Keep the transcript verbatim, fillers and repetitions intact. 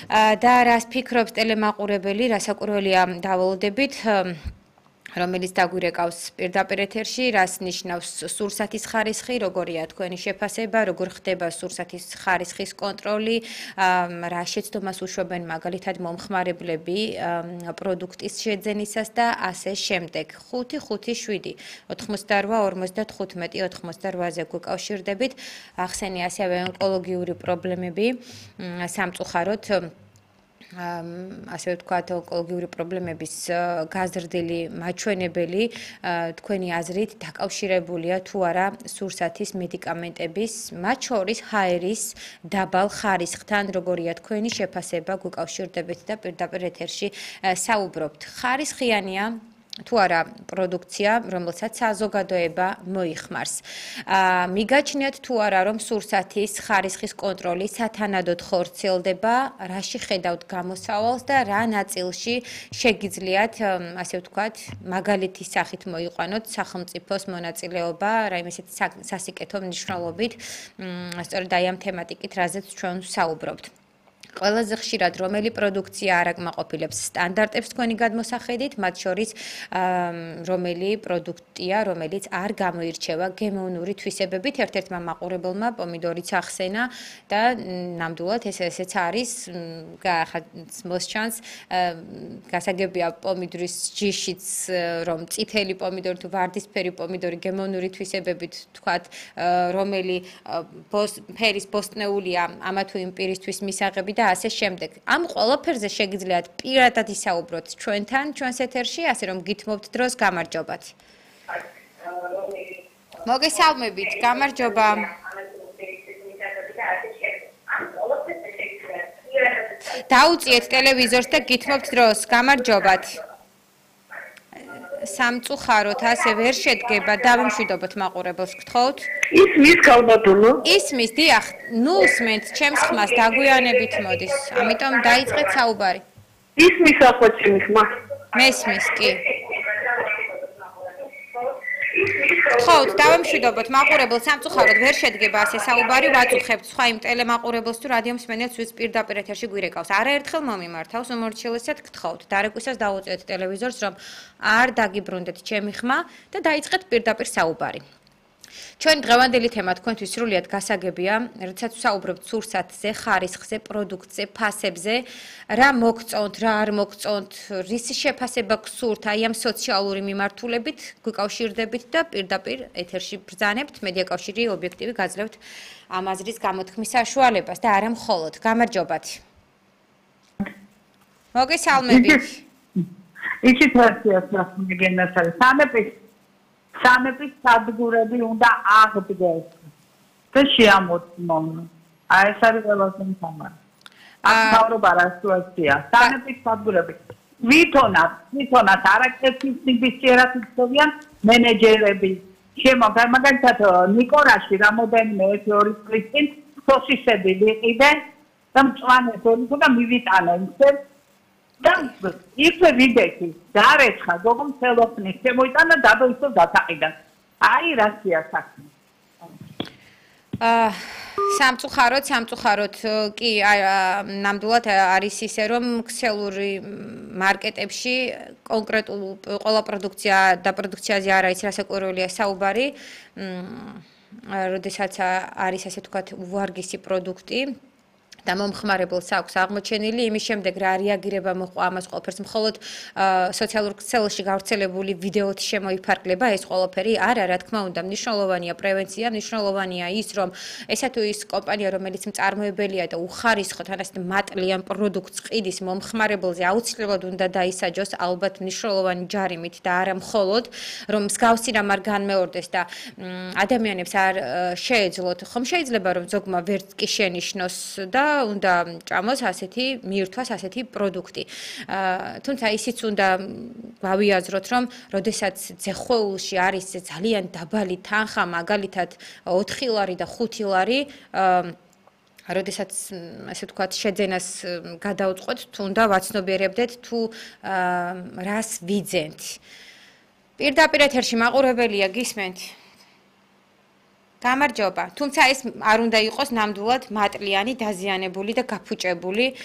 და რას ფიქრობს ტელემაყურებელი, რასაკვირველია დავალოდებით, რომელიც დაგვირეკავს პირდაპირ ეთერში, რას ნიშნავს სურსათის ხარისხი, როგორია თქვენი შეფასება, როგორ ხდება სურსათის ხარისხის კონტროლი, რა შეცდომას უშვებენ მაგალითად მომხმარებლები პროდუქტის შეძენისას და ასე შემდეგ. ხუთი ხუთი შვიდი ოთხმოცდაორვა ორმოცდათხუთმეტი ოთხმოცდაორვაზე გვეკავშირდებით. ახსენე ასევე ონკოლოგიური პრობლემები სამწუხაროდ ასე ვთქვათ, ონკოლოგიური პრობლემების გაზრდილი მაჩვენებელი თქვენი აზრით დაკავშირებულია თუ არა სურსათის მედიკამენტების, მათ შორის ჰაერის დაბალ ხარისხთან, როგორია თქვენი შეფასება, გვეკავშირდებით და პირდაპირ ეთერში საუბრობთ. ხარისხიანია თუ არა პროდუქცია, რომელსაც საზოგადოება მოიხმარს. მიგაჩნიათ თუ არა, რომ სურსათის ხარისხის კონტროლი სათანადოდ ხორციელდება, რაში ხედავთ გამოსავალს და რა ნაწილში შეგიძლიათ, ასე ვთქვათ, მაგალითის სახით მოიყვანოთ სახელმწიფოს მონაწილეობა, რაიმე ისეთი სასიკეთო მნიშვნელობით, სწორედ აი ამ თემატიკით, რაზეც ჩვენ საუბრობთ. ყველაზე ხშირად რომელი პროდუქცია არ აკმაყოფილებს სტანდარტებს თქვენი გადმოსახედით, მათ შორის რომელი პროდუქტია, რომელიც არ გამოირჩევა გემოვნური თვისებებით, ერთ-ერთმა მაყურებელმა პომიდორიც ახსენა და ნამდვილად ეს ესეც არის, ახლა მოსჩანს, გასაგებია პომიდორის ჯიშიც, რომ წითელი პომიდორი თუ ვარდისფერი პომიდორი გემოვნური თვისებებით, თქვათ, რომელი ფერის ბოსტნეულია ამა თუ იმ პირისთვის მისაღები და ასე შემდეგ. ამ ყველაფერზე შეგიძლიათ პირადად ისაუბროთ ჩვენთან, ჩვენს ეთერში, ასე რომ გითმობთ დროს, გამარჯობათ. მოგესალმებით, გამარჯობა. დაუწიეთ ტელევიზორს და გითმობთ დროს, გამარჯობათ. სამწუხაროდ ასე ვერ შედგება, დავიმშვიდობოთ მაყურებელს, გთხოვთ. ისმის ქალბატონო. ისმის, დიახ, ნუ უსმენთ ჩემს ხმას, დაგვიანებით მოდის. ამიტომ დაიწყეთ საუბარი. ისმის ახლა ჩემი ხმა. მესმის, კი. გთხოვთ, დავიმშვიდობოთ მაყურებელს, სამწუხაროდ ვერ შედგება ასე საუბარი, ვაწუხებთ სხვა იმ ტელემაყურებელს თუ რადიო მსმენელს, ვინც პირდაპირ ეთერში გვირეკავს. არაერთხელ მომიმართავს, უმორჩილესად გთხოვთ, დარეკვისას დაუწიეთ ტელევიზორს, რომ არ დაგიბრუნდეთ ჩემი ხმა და დაიწყეთ პირდაპირ საუბარი. ჩვენ დღევანდელი თემა თქვენთვის სრულიად გასაგებია, როდესაც ვსაუბრობთ სურსათზე, ხარისხზე, პროდუქტზე, ფასებზე, რა მოგწონთ, რა არ მოგწონთ, რისი შეფასება გსურთ აი ამ სოციალური მიმართულებით, გვიკავშირდებით და პირდაპირ ეთერში ბრძანებთ, მედიაკავშირი ობიექტივი გაძლევთ ამ აზრის გამოთქმის საშუალებას და არა მხოლოდ. გამარჯობათ. მოგესალმებით. იცით რასია გენას არის. სამეფის სამეფის სადგურები უნდა აღდგეს და შეამოწმონ. აი ეს არის ყველაზე მთავარი. ახალობა რა სიტუაცია. სამეფის სადგურები ვითონათ, ვითონათ არაკეთილ სიბისიერად იწოვიან მენეჯერები. შემოგა მაგალითად ნიკორაში რამოდენიმე ერთი წლის წინ სოსისები ვიყიდე და მწვანე თორიქო და მივიტანენ. და იქვე ვიდექი, დარეცხა, გოგომ ხელოფნის, შემოიტანა დადოისო დათაყიდან. აი რასია საქმე. აა სამწუხაროდ, სამწუხაროდ კი ნამდვილად არის ისე, რომ ქსელური მარკეტებში კონკრეტულ ყველა პროდუქცია და პროდუქციაზე არ არის რასაკვირველია საუბარი, როდესაც არის ასე ვთქვათ უვარგისი პროდუქტი. და მომხმარებელს აქვს აღმოჩენილი, იმის შემდეგ რა რეაგირება მოყვა ამას ყველაფერს, მხოლოდ სოციალურ ქსელში გავრცელებული ვიდეოთი შემოიფარგლება ეს ყველაფერი? არა, რა თქმა უნდა, მნიშვნელოვანია პრევენცია, მნიშვნელოვანია ის, რომ ესა თუ ის კომპანია, რომელიც მწარმოებელია და უხარისხო თან ასეთ მატლიან პროდუქტს ყიდის მომხმარებელზე, აუცილებლად უნდა დაისაჯოს ალბათ მნიშვნელოვანი ჯარიმით და არა მხოლოდ, რომ მსგავსი რამ არ განმეორდეს და ადამიანებს არ შეეძლოთ. ხომ შეიძლება რომ ზოგმა ვერც კი შენიშნოს და უნდა ჭამოს ასეთი მიირთვას ასეთი პროდუქტი. თუმცა ისიც უნდა გავიაზროთ, რომ როდესაც ძეხვეულში არის ძალიან დაბალი თანხა, მაგალითად ოთხი ლარი და ხუთი ლარი, როდესაც ასე ვთქვათ შეძენას გადაუწყვეთ, თუ უნდა ვაცნობიერებდეთ თუ რას ვიძენთ. პირდაპირ ეთერში მაყურებელია, გისმენთ? გამარჯობა. თუმცა ეს არ უნდა იყოს ნამდვილად მატლიანი, დაზიანებული და გაფუჭებული